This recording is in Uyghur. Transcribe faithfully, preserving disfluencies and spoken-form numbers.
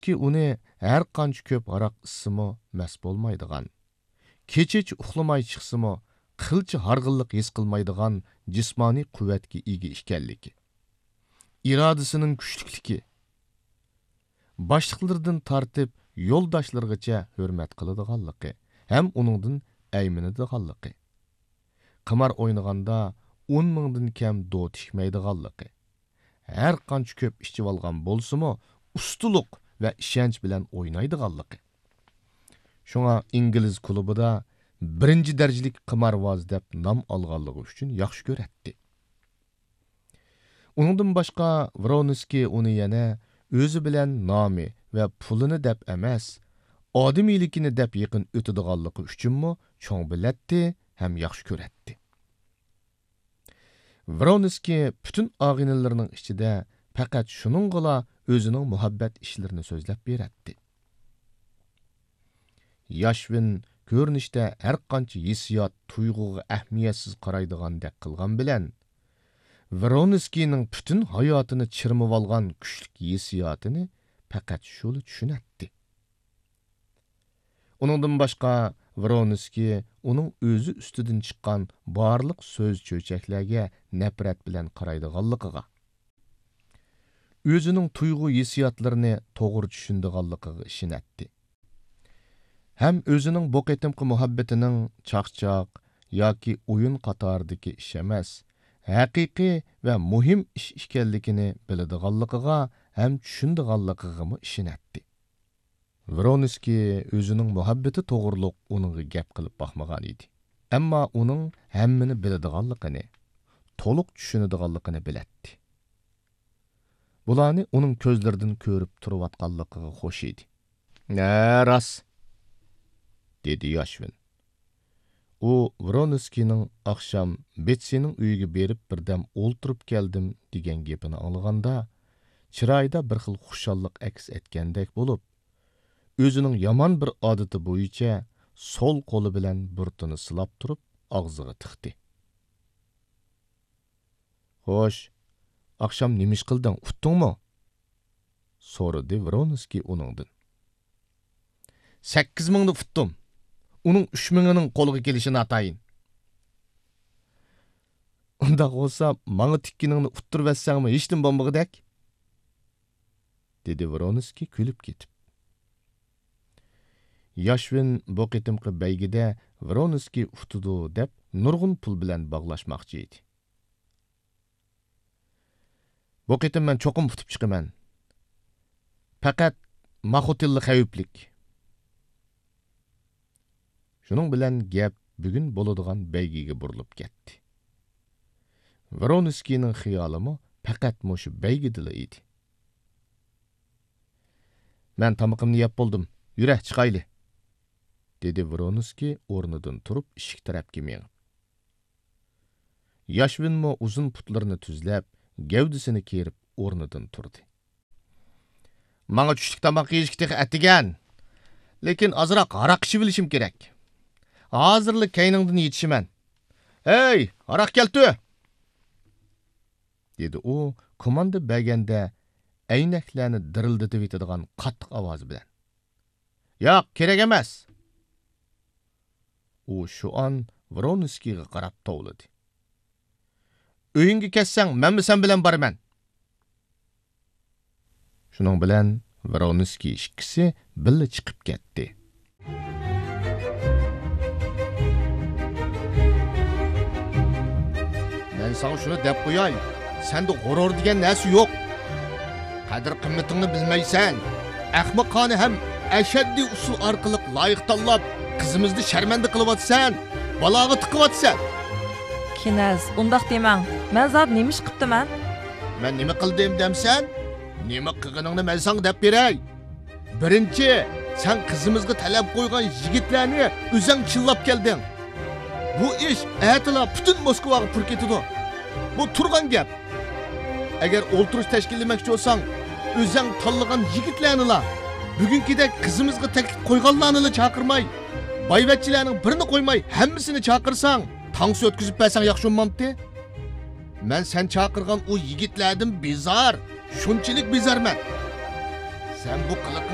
ھالبۇكى، ئۇنى ھەر قانچە كۆپ ھاراق ئىچسىمۇ مەست بولمايدىغان، كېچىچە ئۇخلىماي چىقسىمۇ قىلچە ھارغىنلىق ھېس قىلمايدىغان جىسمانىي قۇۋۋەتكە ئىگە ئىكەنلىكى، ئىرادىسىنىڭ كۈچلۈكلۈكى، باشلىقلىرىدىن تارتىپ يولداشلىرىغىچە ھۆرمەت قىلىدىغانلىقى ھەم ئۇنىڭدىن ئەيمىنىدىغانلىقى، قىمار ئوينىغاندا ئون مىڭدىن كەم دو تىكمەيدىغانلىقى، ھەر قانچە كۆپ ئىچىۋالغان بولسىمۇ، ئۇستىلىق ۋە ئىشەنچ بىلەن ئوينايدىغانلىقى. شۇڭا ئىنگلىز كۇلۇبىدا بىرىنچى دەرىجىلىك قىمارۋاز دەپ نام ئالغانلىقى ئۈچۈن ياخشى كۆرەتتى. ئۇنىڭدىن باشقا، ۋرونسكىي ئۇنى يەنە ئۆزى بىلەن نامى ۋە پۇلىنى دەپ ئەمەس، ئادىمىيلىكىنى دەپ يېقىن ئۆتىدىغانلىقى ئۈچۈنمۇ چوڭ بىلەتتى ھەم ياخشى كۆرەتتى. ۋرونسكىي پۈتۈن ئاغىنىلىرىنىڭ ئىچىدە پەقەت شۇنىڭغىلا ئۆزىنىڭ مۇھەببەت ئىشلىرىنى سۆزلەپ بېرەتتى. ياشۋىن كۆرۈنۈشتە ھەرقانچە ھېسسىيات، تۇيغۇغا ئەھمىيەتسىز قارايدىغاندەك قىلغان بىلەن، ۋرونسكىينىڭ پۈتۈن ھاياتىنى چىرمىۋالغان كۈچلۈك ھېسسىياتىنى پەقەت شۇلا چۈشىنەتتى. ئۇنىڭدىن باشقا، ۋرونسكىي ئۇنىڭ ئۆزى ئۈستىدىن چىققان بارلىق سۆز-چۆچەكلەرگە نەپرەت بىلەن قارايدىغانلىقىغا، ئۆزىنىڭ تۇيغۇ ھېسسىياتلىرىنى توغرا چۈشىنىدىغانلىقىغا ئىشىنەتتى. ھەم ئۆزىنىڭ بۇ قېتىمقى مۇھەببىتىنىڭ چاقچاق ياكى ئويۇن قاتارىدىكى ئىش ئەمەس، ھەقىقىي ۋە مۇھىم ئىش ئىكەنلىكىنى بىلىدىغانلىقىغا ھەم چۈشىنىدىغانلىقىغىمۇ ئىشىنەتتى. ۋرونسكىي ئۆزىنىڭ مۇھەببىتى توغرۇلۇق ئۇنىڭغا گەپ قىلىپ باقمىغان ئىدى. ئەمما ئۇنىڭ ھەممىنى بىلىدىغانلىقىنى، تولۇق چۈشىنىدىغانلىقىنى بىلەتتى. بۇلارنى ئۇنىڭ كۆزلىرىدىن كۆرۈپ تۇرۇۋاتقانلىقىغا خوش ئىدى. ھە، راست، دېدى ياشۋىن. ئۇ ۋرونسكىينىڭ ئاخشام بېتسىنىڭ ئۆيىگە بېرىپ بىردەم ئولتۇرۇپ كەلدىم دېگەن گېپىنى ئاڭلىغاندا، چىرايىدا بىر خىل خۇشاللىق ئەكس ئەتكەندەك بولۇپ، ئۆزىنىڭ يامان بىر ئادىتى بويىچە سول قولى بىلەن بۇرۇتىنى سىلاپ تۇرۇپ ئاغزىغا تىقتى. خوش، ئاخشام نېمە ئىش قىلدىڭ، ئۇتتۇڭمۇ؟ سورىدى ۋرونسكىي ئۇنىڭدىن. سەككىز مىڭنى ئۇتتۇم. ئۇنىڭ ئۈچ مىڭىنىڭ قولغا كېلىشى ناتايىن. ئۇنداق بولسا، ماڭا تىككىنىڭنى ئۇتتۇرۇۋەتسەڭمۇ ھېچنېمە بولمىغۇدەك، دېدى ۋرونسكىي كۈلۈپ كېتىپ. ياشۋىن بۇ قېتىمقى بەيگىدە ۋرونسكىي ئۇتىدۇ دەپ نۇرغۇن پۇل بىلەن باغلاشماقچى ئىدى. بۇ قېتىم مەن چوقۇم ئۇتۇپ چىقىمەن. پەقەت ماخوتىللا خەۋپلىك. شۇنىڭ بىلەن گەپ بۈگۈن بولىدىغان بەيگىگە بۇرۇلۇپ كەتتى. ۋرونسكىينىڭ خىيالىمۇ پەقەت مۇشۇ بەيگىدىلا ئىدى. مەن تامىقىمنى يەپ بولدۇم، يۈرە، چىقايلى، دېدى ۋرونسكىي ئورنىدىن تۇرۇپ ئىشىك تەرەپكە مېڭىپ. ياشۋىنمۇ ئۇزۇن پۇتلىرىنى تۈزلەپ، گەۋدىسىنى كېرىپ ئورنىدىن تۇردى. ماڭا چۈشلۈك تاماق يېيىشكە تېخى ئەتىگەن. لېكىن ئازراق ھاراق ئىچىۋېلىشىم كېرەك. ھازىرلا كەينىڭدىن يېتىشىمەن. ھەي، ھاراق كەلتۈر! دېدى ئۇ كوماندا بەرگەندە ئەينەكلەرنى دىرىلدىتىۋېتىدىغان قاتتىق ئاۋازى بىلەن. ياق، كېرەك ئەمەس! ئۇ شۇئان ۋرونسكىيغا قاراپ توۋلىدى. ئۆيۈڭگە كەتسەڭ، مەنمۇ سەن بىلەن بارىمەن. شۇنىڭ بىلەن ۋرونسكىي ئىككىسى بىللە چىقىپ كەتتى. مەن ساڭا شۇنى دەپ قوياي، سەندە غۇرۇر دېگەن نەرسە يوق. قەدىر-قىممىتىڭنى بىلمەيسەن. ئەخمىقانە ھەم ئەشەددىي ئۇسۇل ئارقىلىق لايىق تاللاپ، قىزىمىزنى شەرمەندە قىلىۋاتىسەن، بالاغا تىقىۋاتىسەن. كىنەز، ئۇنداق دېمەڭ. مەن زادى نېمە ئىش قىپتىمەن؟ مەن نېمە قىلدىم دەمسەن؟ نېمە قىلغىنىڭنى مەن ساڭا دەپ بېرەي. بىرىنچى، سەن قىزىمىزغا تەلەپ قويغان يىگىتلەرنى ئۆزەڭ چىللاپ كەلدىڭ. بۇ ئىش ئەتىلا پۈتۈن موسكۋاغا پۇر كېتىدۇ. بۇ تۇرغان گەپ. ئەگەر ئولتۇرۇش تەشكىللىمەكچى بولساڭ، ئۆزەڭ تاللىغان يىگىتلەرنىلا، بۈگۈنكىدەك قىزىمىزغا تەكلىپ قويغانلارنىلا چاقىرماي، بايۋەچچىلەرنىڭ بىرىنى قويماي، ھەممىسىنى چاقىرساڭ، تانسا ئۆتكۈزۈپ بەرسەڭ ياخشى بولمامتى؟ مەن سەن چاقىرغان ئۇ يىگىتلەردىن بىزار، شۇنچىلىك بىزارمەن. سەن بۇ قىلىقىڭ